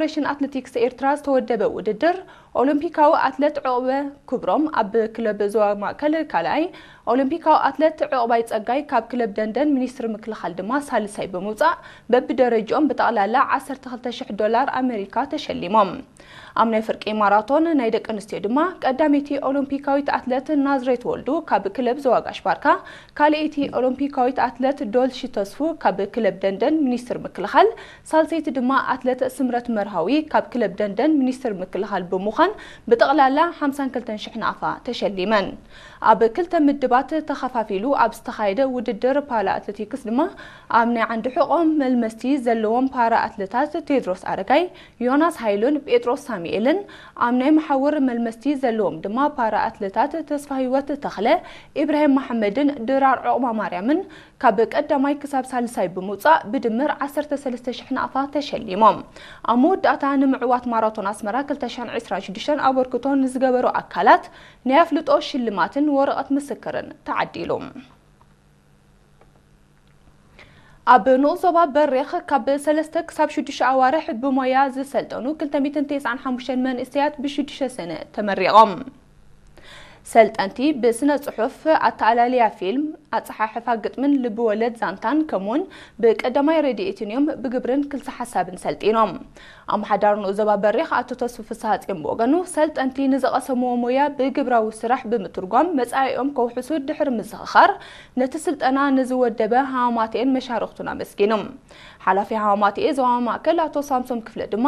ፌዴሬሽን ኣትሌቲክስ ኤርትራ ዝተወደበ ውድድር ኦሎምፒካዊ ኣትሌት ዑቕበ ክብሮም ኣብ ክለብ ዞባ ማእከል ካልኣይ፣ ኦሎምፒካዊ ኣትሌት ዑቕባይ ጸጋይ ካብ ክለብ ደንደን ሚኒስትሪ ምክልኻል ድማ ሳልሳይ ብምውጻእ በብደረጅኦም ብጠቕላላ ዓሰርተ ክልተ ሽሕ ዶላር ኣሜሪካ ተሸሊሞም። ኣብ ናይ ፍርቂ ማራቶን ናይ ደቂ ኣንስትዮ ድማ ቀዳመይቲ ኦሎምፒካዊት ኣትሌት ናዝሬት ወልዱ ካብ ክለብ ዞባ ጋሽ ባርካ፣ ካልኣይቲ ኦሎምፒካዊት ኣትሌት ዶልሺ ተስፉ ካብ ክለብ ደንደን ሚኒስትሪ ምክልኻል፣ ሳልሰይቲ ድማ ኣትሌት ስምረት መርሃዊ ካብ ክለብ ደንደን ሚኒስትሪ ምክልኻል ብምዃን ብጠቕላላ ሓምሳን ክልተን ሽሕ ናቕፋ ተሸሊመን። ኣብ ክልተ ምድባት ተኸፋፊሉ ኣብ ዝተኻየደ ውድድር ፓራ ኣትሌቲክስ ድማ ኣብ ናይ ዓንዲ ሕቖም መልመስቲ ዘለዎም ፓራ ኣትሌታት ቴድሮስ ኣረጋይ፣ ዮናስ ሃይሉን ጴጥሮስ ሳሙኤልን፣ ኣብ ናይ መሓውር መልመስቲ ዘለዎም ድማ ፓራ ኣትሌታት ተስፋ ህይወት ተኽለ፣ ኢብራሂም መሓመድን ድራር ዑቕባ ማርያምን ካብ ቀዳማይ ክሳብ ሳልሳይ ብምውጻእ ብድምር ዓሰርተ ሰለስተ ሽሕ ናቕፋ ተሸሊሞም። ኣብ መወዳእታ ንምዕዋት ማራቶን ኣስመራ ክልተ ሽሕን ዕስራን ሽዱሽተን ኣበርክቶ ንዝገበሩ ኣካላት ናይ ኣፍልጦ ሽልማትን ወረቐት ምስክርን ተዓዲሉ። ኣብ ንኡስ ዞባ በሪኽ ካብ ሰለስተ ክሳብ ሽዱሽተ ኣዋርሕ ብሞያ ዝሰልጠኑ ክልተ ሚእትን ተስዓን ሓሙሽተን መንእሰያት ብሽዱሽተ ሰነ ተመሪቖም። ሰልጠንቲ ብስነ ጽሑፍ፣ ኣተኣላልያ ፊልም፣ ኣጸሓሕፋ ግጥምን ልብወለድ ዛንታን ከምኡውን ብቀዳማይ ረድኤትን እዮም ብግብርን ክልሰ ሓሳብን ሰልጢኖም። ኣመሓዳሪ ንኡስ ዞባ በሪኽ ኣቶ ተስፉ ፍስሃጽዮን ብወገኑ፣ ሰልጠንቲ ንዝቐሰምዎ ሞያ ብግብራዊ ስራሕ ብምትርጓም መጻኢኦም ከውሕሱ ድሕሪ ምዝኽኻር፣ ነቲ ስልጠና ንዝወደበ ሃማማትኤን መሻርኽቱን ኣመስጊኑ። ሓላፊ ሃማማትኤ ዞባ ማእከል ኣቶ ሳምሶም ክፍለ ድማ፣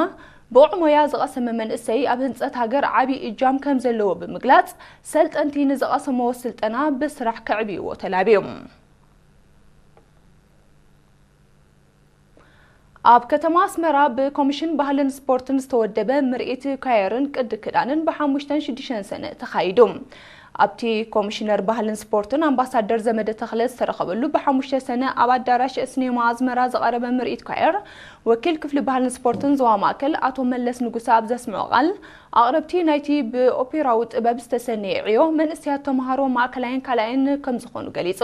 ብቑዕ ሞያ ዝቐሰመ መንእሰይ ኣብ ህንጸት ሃገር ዓቢ እጃም ከም ዘለዎ ብምግላጽ፣ ሰልጠንቲ ንዝቐሰምዎ ስልጠና ብስራሕ ከዕብይዎ ተላብዩ። ኣብ ከተማ ኣስመራ ብኮሚሽን ባህልን ስፖርትን ዝተወደበ ምርኢት ኳየርን ቅዲ ክዳንን ብሓሙሽተን ሽዱሽተን ሰነ ተኻይዱ። ኣብቲ ኮሚሽነር ባህልን ስፖርትን ኣምባሳደር ዘመደ ተኽለ ዝተረኸበሉ ብሓሙሽተ ሰነ ኣብ ኣዳራሽ ስኔማ ኣስመራ ዝቐረበ ምርኢት ኳየር፣ ወኪል ክፍሊ ባህልን ስፖርትን ዞባ ማእከል ኣቶ መለስ ንጉሰ ኣብ ዘስምዖ ቃል፣ ኣቕረብቲ ናይቲ ብኦፔራዊ ጥበብ ዝተሰነየ ዕዮ መንእሰያት ተምሃሮ ማእከላይን ካልኣይን ከም ዝኾኑ ገሊጹ።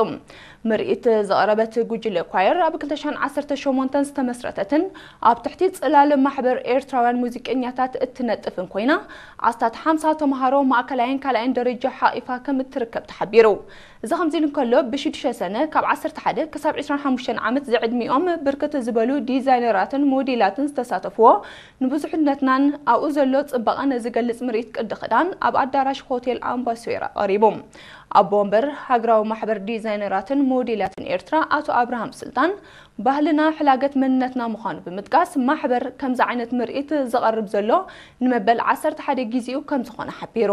ምርኢት ዘቕረበት ጉጅለ ኳየር ኣብ ክልተ ሽሕን ዓሰርተ ሸሞንተን ዝተመስረተትን ኣብ ትሕቲ ጽላል ማሕበር ኤርትራውያን ሙዚቀኛታት እትነጥፍን ኮይና፣ ኣስታት ሓምሳ ተምሃሮ ማእከላይን ካልኣይን ደረጃ ሓቒፋ ከም እትርከብ ተሓቢሩ። እዚ ከምዚ ኢሉ እንከሎ፣ ብሽዱሽተ ሰነ ካብ ዓሰርተ ሓደ ክሳብ ዕስራን ሓሙሽተን ዓመት ዝዕድሚኦም ብርክት ዝበሉ ዲዛይነራትን ሞዴላትን ዝተሳተፍዎ፣ ንብዙሕነትናን ኣብኡ ዘሎ ጽባቐን ዝገልጽ ምርኢት ቅዲ ክዳን ኣብ ኣዳራሽ ሆቴል ኣምባሶራ ቀሪቡ። ኣቦ ወንበር ሃገራዊ ማሕበር ዲዛይነራትን ሞዴላትን ኤርትራ ኣቶ ኣብርሃም ስልጣን፣ ባህልና ሕላገት መንነትና ምዃኑ ብምጥቃስ፣ ማሕበር ከምዚ ዓይነት ምርኢት ዘቐርብ ዘሎ ንመበል ዓሰርተ ሓደ ግዜኡ ከም ዝኾነ ሓቢሩ።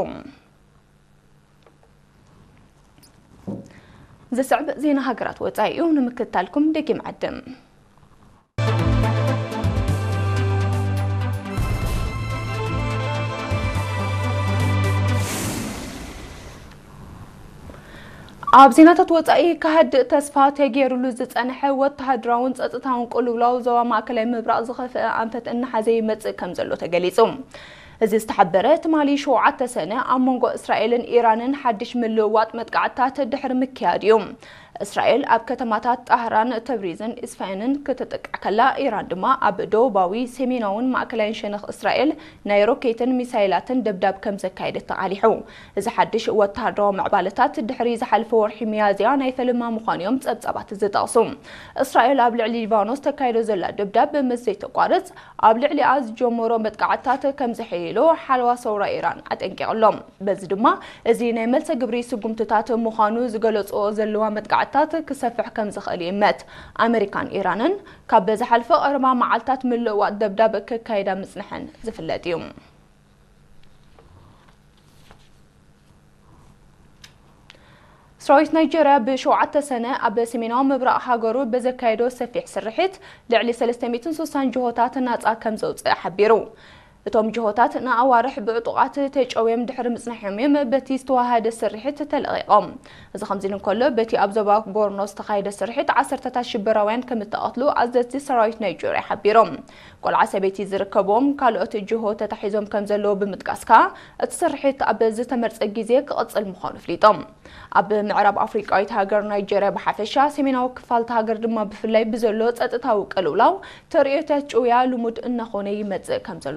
ዝስዕብ ዜና ሃገራት ወጻኢ እዩ፣ ንምክትታልኩም ደጊም ዕድም። ኣብ ዜናታት ወጻኢ፣ ክሃድእ ተስፋ ተገይሩሉ ዝጸንሐ ወተሃደራውን ጸጥታውን ቅልውላው ዞባ ማእከላይ ምብራቕ ዝኸፍአ ኣንፈት እናሓዘ ይመጽእ ከም ዘሎ ተገሊጹ። እዚ ዝተሓበረ ትማሊ ሸውዓተ ሰነ ኣብ መንጎ እስራኤልን ኢራንን ሓድሽ ምልውዋጥ መጥቃዕትታት ድሕሪ ምክያድ እዩ። እስራኤል ኣብ ከተማታት ጣህራን፣ ተብሪዝን ኢስፋሃንን ክትጥቃዕ ከላ፣ ኢራን ድማ ኣብ ደቡባዊ፣ ሰሜናውን ማእከላይን ሸነኽ እስራኤል ናይ ሮኬትን ሚሳይላትን ደብዳብ ከም ዘካየደት ተቓሊሑ። እዚ ሓድሽ ወተሃደራዊ ምዕባለታት ድሕሪ ዝሓለፈ ወርሒ ሚያዝያ ናይ ፈለማ ምዃኑ እዮም ጸብጻባት ዝጠቕሱ። እስራኤል ኣብ ልዕሊ ሊባኖስ ተካይዶ ዘላ ደብዳብ ምስ ዘይተቋርጽ፣ ኣብ ልዕሊኣ ዝጀመሮ መጥቃዕትታት ከም ዘሐይሎ ሓለዋ ሰውራ ኢራን ኣጠንቂቑ ኣሎ። በዚ ድማ፣ እዚ ናይ መልሰ ግብሪ ስጉምትታት ምዃኑ ዝገለጽኦ ዘለዋ መጥቃዕትታት ክሰፍሕ ከም ዝኽእል ይእመት። ኣመሪካን ኢራንን ካብ ዝሓለፈ ቀረባ መዓልታት ምልውዋጥ ደብዳብ ከካይዳ ምጽንሐን ዝፍለጥ እዩ። ሰራዊት ናይጀርያ ብሸውዓተ ሰነ ኣብ ሰሜናዊ ምብራቕ ሃገሩ ብዘካየዶ ሰፊሕ ስርሒት ልዕሊ ሰለስተ ሚእትን ስሳን ጅሆታት ናጻ ከም ዘውጽእ ሓቢሩ። እቶም ጅሆታት ንኣዋርሕ ብዕጡቓት ተጨውዮም ድሕሪ ምጽናሖም እዮም በቲ ዝተዋሃደ ስርሒት ተለቒቖም። እዚ ከምዚ ኢሉ እንከሎ፣ በቲ ኣብ ዞባ ቦርኖ ዝተኻየደ ስርሒት ዓሰርተታት ሽበራውያን ከም እተቐትሉ ኣዘዝቲ ሰራዊት ናይጄርያ ሓቢሮም። ቆልዓ ሰበይቲ ዝርከብዎም ካልኦት ጅሆ ተታሒዞም ከም ዘለዉ ብምጥቃስ ከኣ፣ እቲ ስርሒት ኣብ ዝተመርጸ ግዜ ክቕጽል ምዃኑ ኣፍሊጦም። ኣብ ምዕራብ ኣፍሪቃዊት ሃገር ናይጄርያ ብሓፈሻ፣ ሰሜናዊ ክፋል እታ ሃገር ድማ ብፍላይ ብዘሎ ጸጥታዊ ቅልውላው፣ ተርእዮታት ጭውያ ልሙድ እናኾነ ይመጽእ ከም ዘሎ